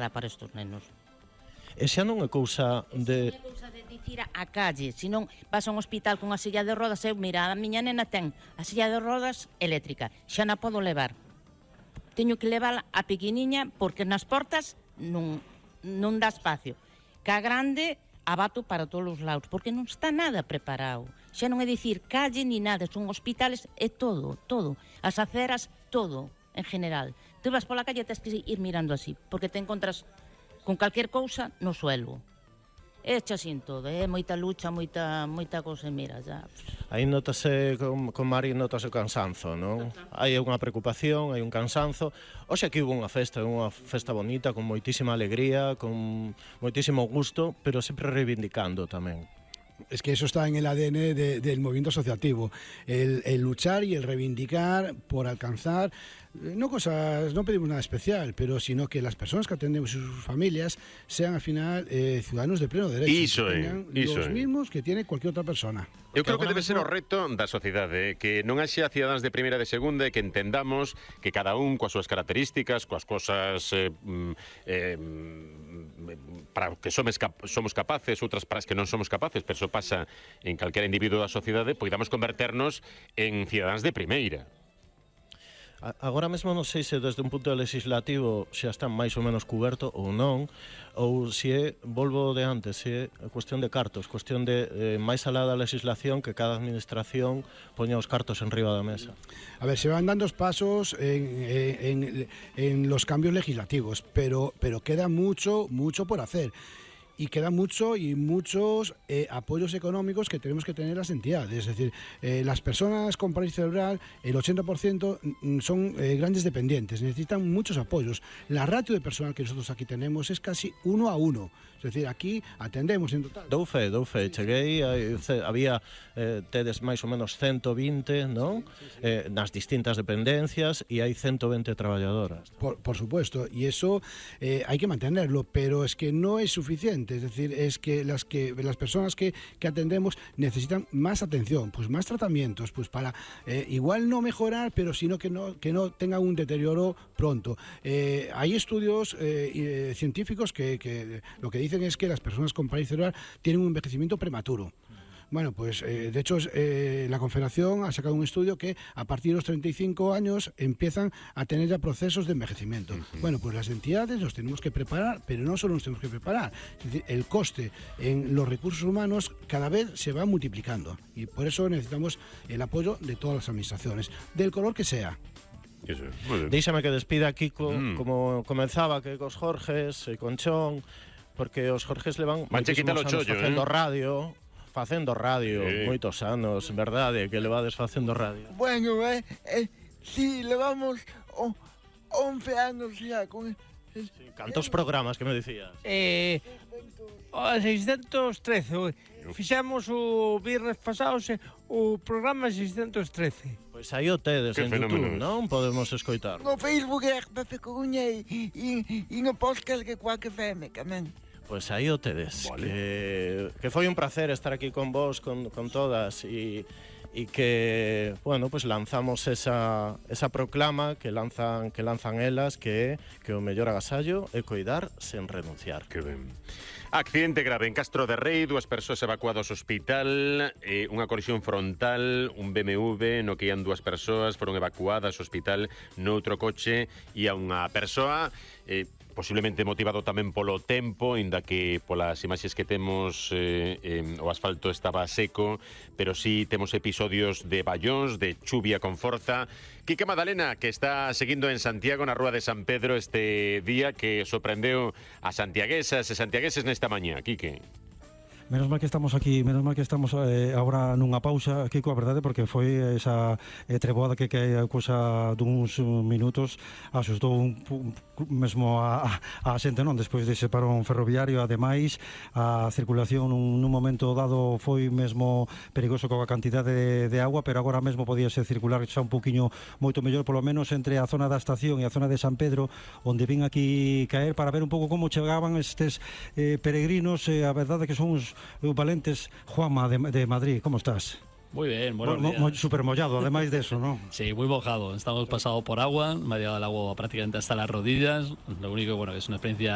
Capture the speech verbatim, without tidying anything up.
nada para estos nenos. E xa non é cousa de... Non é cousa de dicir a calle, senón vas a un hospital con a silla de rodas, eu, mira, a miña nena ten a silla de rodas eléctrica, xa na podo levar. Teño que levar a pequeniña porque nas portas non, non dá espacio. Ca grande abato para todos os lados, porque non está nada preparado. Xa non é dicir calle ni nada, son hospitales, é todo, todo. As aceras, todo, en general. Tú vas pola calle e tens que ir mirando así, porque te encontras con calquer cousa no suelo. É xa sin todo, é moita lucha, moita moita cousa, mira, já. Aí notase, con, con Mari notase o cansanzo, non? Hai unha preocupación, hai un cansanzo. Oxe, aquí hubo unha festa, unha festa bonita, con moitísima alegría, con moitísimo gusto, pero sempre reivindicando tamén. Es que eso está en el A D N de, del movimiento asociativo, el, el luchar y el reivindicar por alcanzar, no cosas, no pedimos nada especial, pero sino que las personas que atendemos y sus familias sean al final eh, ciudadanos de pleno derecho, iso que é, tengan iso los é. mismos que tiene cualquier otra persona. Eu creo que debe ser o reto da sociedade, que non haxa cidadáns de primeira e de segunda e que entendamos que cada un coas súas características, coas cosas eh, eh, para que somos, cap somos capaces, outras para as que non somos capaces, pero eso pasa en calquera individuo da sociedade, poidamos converternos en cidadáns de primeira. Agora mesmo non sei se desde un punto legislativo xa están máis ou menos cuberto ou non, ou se é, volvo de antes, se é cuestión de cartos, cuestión de eh, máis alá da legislación que cada administración poña os cartos en riba da mesa. A ver, se van dando pasos en, en, en los cambios legislativos, pero, pero queda mucho, mucho por hacer. Y queda mucho y muchos eh, apoyos económicos que tenemos que tener las entidades. Es decir, eh, las personas con parálisis cerebral, el ochenta por ciento son eh, grandes dependientes, necesitan muchos apoyos. La ratio de personal que nosotros aquí tenemos es casi uno a uno. Es decir, aquí atendemos en total. Dou fe, dou fe, cheguei, hai, había eh, tedes máis ou menos ciento vinte, non? Sí, sí, sí. Eh, nas distintas dependencias e hai ciento vinte traballadoras. Por, por supuesto, y eso eh, hay que mantenerlo, pero es que no es suficiente. Es decir, es que las que las personas que, que atendemos necesitan más atención, pues más tratamientos, pues para eh, igual no mejorar, pero sino que no que no tenga un deterioro pronto. Eh, hay estudios eh, eh, científicos que, que lo que dicen es que las personas con parálisis cerebral tienen un envejecimiento prematuro. Bueno, pues eh, de hecho eh, la Confederación ha sacado un estudio que a partir de los treinta y cinco años empiezan a tener ya procesos de envejecimiento. Uh-huh. Bueno, pues las entidades nos tenemos que preparar, pero no solo nos tenemos que preparar. Es decir, el coste en los recursos humanos cada vez se va multiplicando y por eso necesitamos el apoyo de todas las administraciones, del color que sea. Déixame que despida Kiko, mm. como comenzaba, que cos Jorges e con Chon, porque os Jorges levan moitísimos anos chollo, facendo eh? radio, facendo radio, sí. Moitos anos, verdade, que levades facendo radio. Bueno, eh, eh si levamos oh, once anos xa con... Sí, cantos programas que me dicías? Eh, seiscientos trece. Fixemos o viernes pasado o programa seiscientos trece. Pois aí o tedes en YouTube, non? Podemos escoitar. No Facebook é R P F Coruña e, e, e no podcast que Quack F M, tamén. Pois aí o tedes, vale. que, que foi un placer estar aquí con vos, con, con todas, e, e que, bueno, pues lanzamos esa, esa proclama que lanzan que lanzan elas, que é que o mellor agasallo é coidar sen renunciar. Que ben. Accidente grave en Castro de Rei, dúas persoas evacuadas ao hospital, eh, unha colisión frontal, un B M W no que ian dúas persoas, foron evacuadas ao hospital noutro coche, e a unha persoa... Eh, posiblemente motivado tamén polo tempo, inda que polas imaxes que temos eh, eh, o asfalto estaba seco, pero sí temos episodios de ballóns, de chuvia con forza. Quique Madalena, que está seguindo en Santiago, na Rúa de San Pedro, este día que sorprendeu a santiaguesas e santiagueses nesta mañá. Quique. Menos mal que estamos aquí, menos mal que estamos eh, agora nunha pausa aquí coa verdade, porque foi esa eh, treboada que que a cousa duns minutos asustou un, un, mesmo a, a, a xente, non? Despois dese parón ferroviario, ademais a circulación nun, nun momento dado foi mesmo perigoso coa cantidade de, de agua, pero agora mesmo podíase circular xa un poquinho moito mellor, polo menos entre a zona da estación e a zona de San Pedro, onde vin aquí caer para ver un pouco como chegaban estes eh, peregrinos, eh, a verdade que son uns valentes. Juanma de, de Madrid, ¿cómo estás? Muy bien, buenos mo, días. Mo, súper mollado, además de eso, ¿no? Sí, muy mojado. Estamos pasado por agua, me ha llegado el agua prácticamente hasta las rodillas. Lo único, bueno, es una experiencia